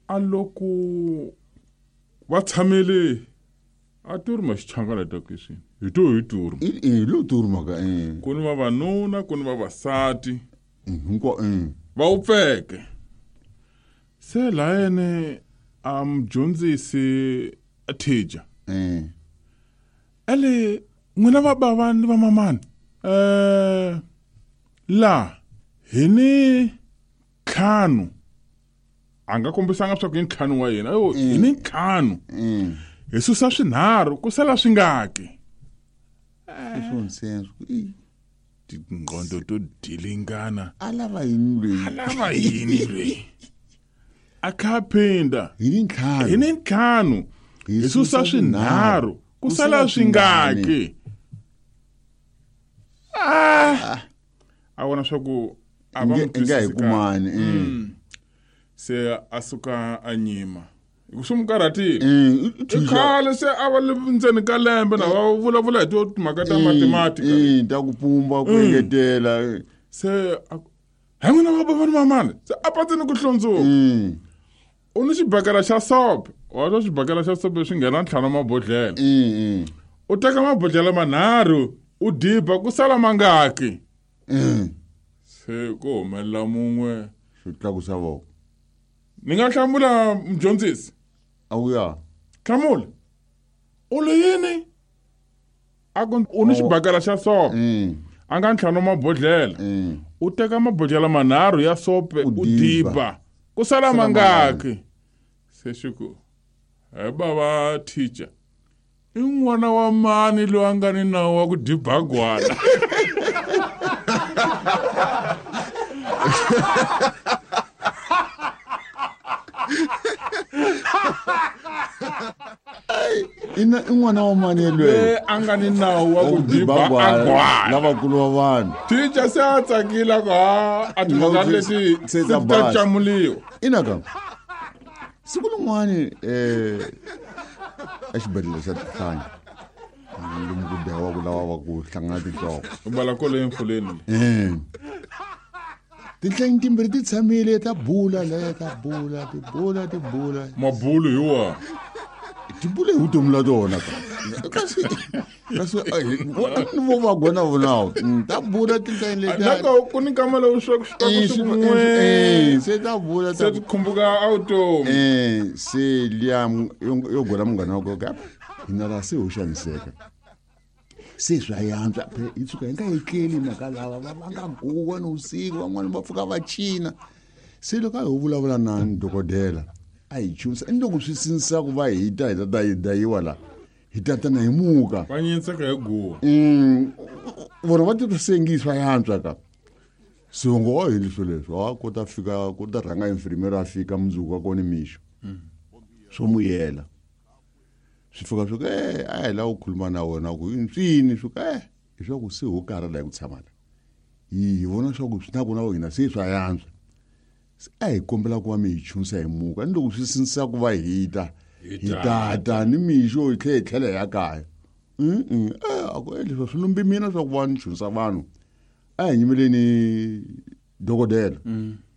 A loko va tshamele a turma xichangana takisini hi to hi turma. I lo turma ka eh. Ku ni vavanuna ku ni vavasati. Hinkwa eh. Va wupfeke. Se layene a mudyondzisi a teacher. Eh. Ele n'wina va bava ni va mamani. Eh la hi ni ntlhanu a nga kombisanga swa ku i ntlhanu wa yena yo hi ni ntlhanu hi susa swinharhu ku sala swingaki Swonsense. Tingqondo to dilingana A lava yini loyi? A lava yini loyi a kha a phinda Hi ni ntlhanu. Hi ni ntlhanu hi susa swinharhu ku sala swingaki ah a vona swa ku a va n'wi Nge nga hi twisisi kahle. kumani. Eh. Se a suka a nyima hi ku swi n'wi karhatile Eh, i khale se a va le ndzeni ka lembe na va vulavula hi to timhaka ta mathematika Eh, ta ku pumba ku engetela. Se a ku, he n'wina va bava ni mamani se a patsini ku hlundzuka u ni xibakela xa sope wa twa xibakela xa sope swi nghena ntlhanu mabodhlele u teka mabodhlele manharhu u diba ku sala mangaki Se ku humelela mun'we xi tlakusa voko. Ni nga hlamula mudyondzisi? A wu ya. Hlamula. U li yini? A ku u ni xibakela xa sope. A nga ntlhanu mabodhlele. U teka mabodhlele manharhu ya sope u diba. Ku sala mangaki? Se xi ku, he bava teacher. I n'wana wa mani loyi a nga ni nawu wa ku diba gwala? Ina i n'wana wa mani yelweyo? Loyi a nga ni nawu wa ku diba agwala. Lavakulu va vanhu. Teacher se a tsakile a ku ha a timhaka leti Se se ta ti ta basa. camuliwa. Ina ka. Siku rin'wani eh exibedhlele xa Tihlanya lomu ku dlayiwaka lava va ku hlangana tinhloko. U bala kolo emfuleni. Eh. Tinhlanyi timbirhi ti tshamile ta bula le ta bula ti bula ti bula. Mabulu hi wa. Ti bula hi vutomi la tona ka. Kasi kasi ni vo va gona vonawo. Ta bula tinhlanyi leti. Nako ku ni nkama lowu swa ku swi ku n'we. Se ta bula Se ti khumbuka a vutomi. Eh se liya yo gola munghana wa koka. Hina la se ho xaniseka. Se swa yantswa phela hi tshuka hi nga etleli mhaka lava va va nga guwa ni vusiku van'wani va pfuka va cina. Se loko a ho vulavula na dokodela a hi chunisa ni loko swi sindzisa ku va hi ta hi ta ta hi dayiwa la hi ta tana hi muka. Va nyinseka hi guwa. Vona va titwa se ngi swa yantswa ka. Se ngo wa hi leswo leswo a ku ta fika ku ta rhanga infirmera a fika mundzuku wa kona mixo. Swo muyela. Swi fika swi ku eh a hi lava ku khuluma na wena ku i nswini swi ku eh hi swa ku se ho karhala hi ku tshama la. Hi vona swa ku swi na ku na hina se swa yantswa. Se a hi kombela ku va mi hi chunisa hi muka ni loko swi sindzisa ku va hi ta hi ta ta ni mixo hi tlhela hi tlhela hi ya kaya. A ku leswi swi lumbi mina swa ku va ni chunisa vanhu. A hi nyimeleni dokodela.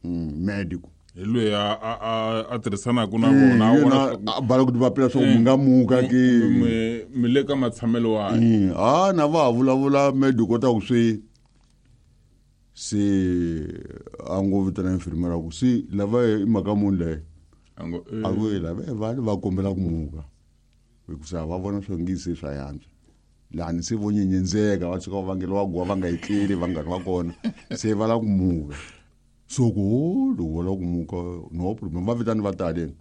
Medical. Hi loyi a tirhisanaka na vona, a vona swa ku A bala ku ti vapela swa ku mi nga muka ke. Mi le ka matshamelo wa. Ha na va ha vulavula medical ta ku swi se a ngo vitana infirmera ku se lava i mhaka muni leyi. A ngo, A ku lava vanhu va kombela ku muka. Hikusa va vona swa ngi se swa yantswa. Lani se vo nyenyendzeka va tshuka va vangeliwa guwa va nga etleli vanghana va kona se va lava ku muka. So ku loko va lava ku muka no problem va vitani va tale.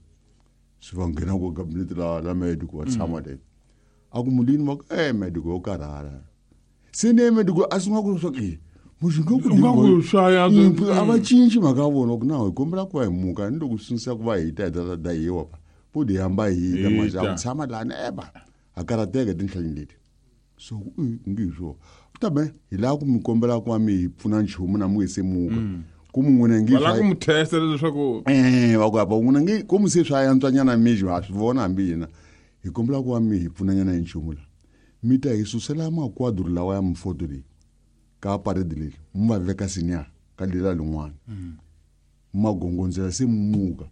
Se va nghena ku cabinet la medical va tshama le. A ku mulini va ku medical yo karhala. Se ne medical a sungula ku swa ku muxi nga ku U nga ku swa yantswa. A va cinci mhaka ya vona ku na hi kombela ku va hi muka ni loko swi sindzisa ku va hi ta hi ta dayiwa pa. Vo di hamba hi ta manje a ku tshama lani eba. A karhateka tinhlanyi leti. So ngi hi swona. Ta be hi lava ku mi kombela ku va mi hi pfuna nchumu na mu se muka. Ku mu n'wina ngi Va lava swa ku mu testa leswaku Va ku apa n'wina ngi ku mu se swa yantswanyana mixo ha swi vona hambi hina. Hi kombela ku va mi hi pfunanyana hi nchumu la. Mi ta hi susela makwadro lawa ya mifoto leyi ka parade leyi mi va veka senior ka lela lin'wana. Magongondzela se mu muka.